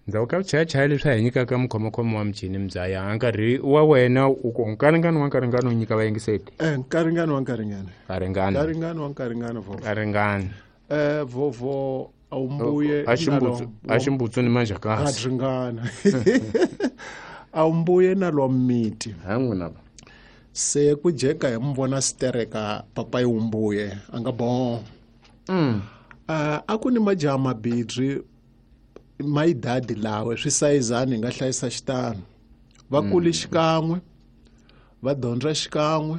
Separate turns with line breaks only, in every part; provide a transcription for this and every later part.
Ndzhaku ka vuchayachaya leswi a hi nyikaka mukhomokhomo wa michini mbyaya nkarhi wa wena u ku nkaringano wa nkaringano u nyika vayingiseti.
Nkaringano wa nkaringano.
Nkaringano.
Nkaringano wa nkaringano vovo.
Nkaringano.
Vovo awumbuye
a ximbutsu ni manjhakasi.
A ringana. Awumbuye na lwa miti.
Ha n'wina.
Se ku jeka hi mu vona stereka papa yi wumbuye a nga bon. A ku ni majaha mabidri mayidadi lawe swi sayizani hi nga hlayisa xitano. Va kule xikan'we, va dyondza xikan'we,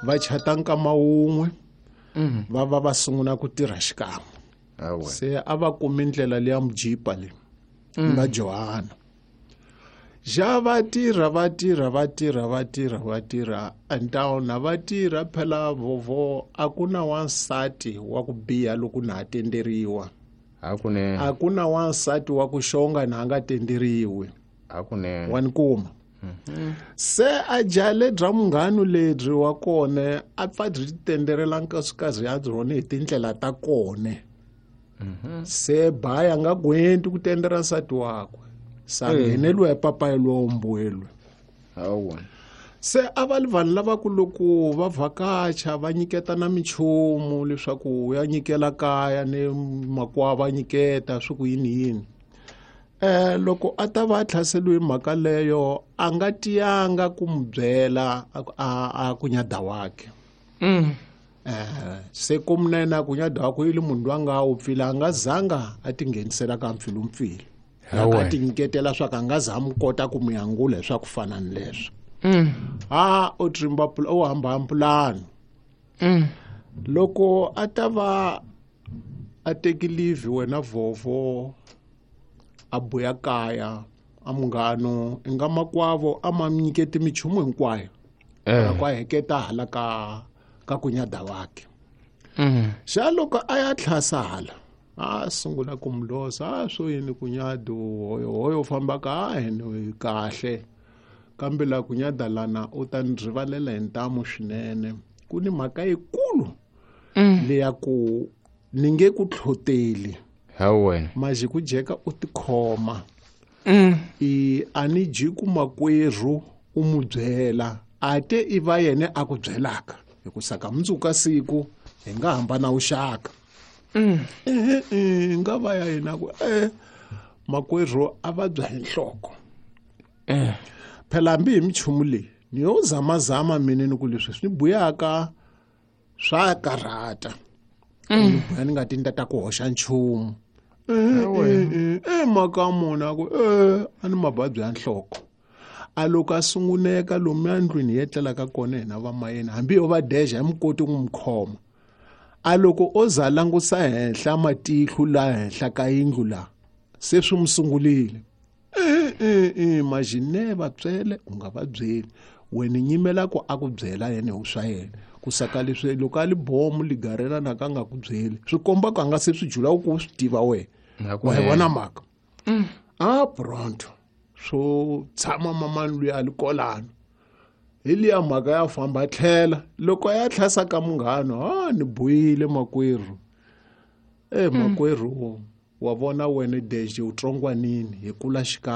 va chata nkama wun'we, va va va sungula ku tirha xikan'we. Se a va kumi ndlela leya mujipa leyi nga Johana. Ja va tirha va tirha va tirha va tirha va tirha antawuna va tirha phela vovo a ku na wansati wa ku biha loko na ha tenderiwa.
Hakunene.
A ku na wansati wa ku xonga na nga tenderiwi.
Hakunene.
Wa ni kuma. Se a jale bya munghano lebyi wa kona a pfa byi tenderela nkasikazi ya byona hi tindlela ta kona. Se baya nga gwenti ku tendera nsati wakwe. Sa ngheneliwa hi papayi lowa mbuelwe.
Hawa.
Se a va li vanhu lava ku loko va vhakacha va nyiketa na minchumu leswaku ya nyikela kaya ni makwavo va nyiketa swi ku yini yini. Loko a ta va a tlhaseliwe mhaka leyo a nga tiyanga ku mu byela a ku nyada wakhe. Se ku munene ku nyada wakhe yi le munhu loyi a nga wu pfila a nga zanga a tinghenisela ka mpfilumpfilu. A tinyiketela swa ka nga za mu kota ku mu yangula hi swa ku fana ni leswo. A o trimba o hamba pulani. Loko a ta va a teki leave wena vovo a buya kaya a munghano i nga makwavo a ma nyiketi minchumu hinkwayo. Loko a heketa hala ka ku nyada wakhe. Xa loko a ya tlhasa hala a sungula ku mu losa a swo yini ku nyada hoyo hoyo famba ka hina kahle kambe la ku nyada lana u ta ni rivalela hi ntamu swinene ku ni mhaka yikulu leya ku ni nge ku tlhoteli.
Hawe.
Maji ku jeka u tikhoma. I a ni ji ku makwerhu u mu byela a te i va yena a ku byelaka hi ku saka mundzuku siku hi nga hambana vuxaka. Nga va ya yena ku makwerhu a va bya hi nhloko. Phela hambi hi minchumu leyi ni yo zamazama mina ni ku leswi swi ni buyaka swa karhata. Ni buya ni nga ti ni ta ku hoxa nchumu. Mhaka mona ku a ni mavabyi ya nhloko. A loko a sunguneka lomu endlwini hi etlelaka kona hina va mayena hambi yo va deja hi mukoti ku n'wi khoma. A loko o za langusa henhla matihlo la henhla ka yindlu la se swi mu sungulile. Majine va byele u nga va byeli wena nyimela ku a ku byela yena hi swa yena ku saka leswi loko a li bomu ligarela na ka nga ku byeli swi komba ku a nga se swi jula ku swi tiva wena. Wa hi vona mhaka. A pronto swo tshama mamani luya a li kolano hi liya mhaka ya famba tlhela loko ya tlhasa ka munghano a ni buyile makwerhu. Makwerhu wa vona wena deje u tsongwanini hi kula xikan'we.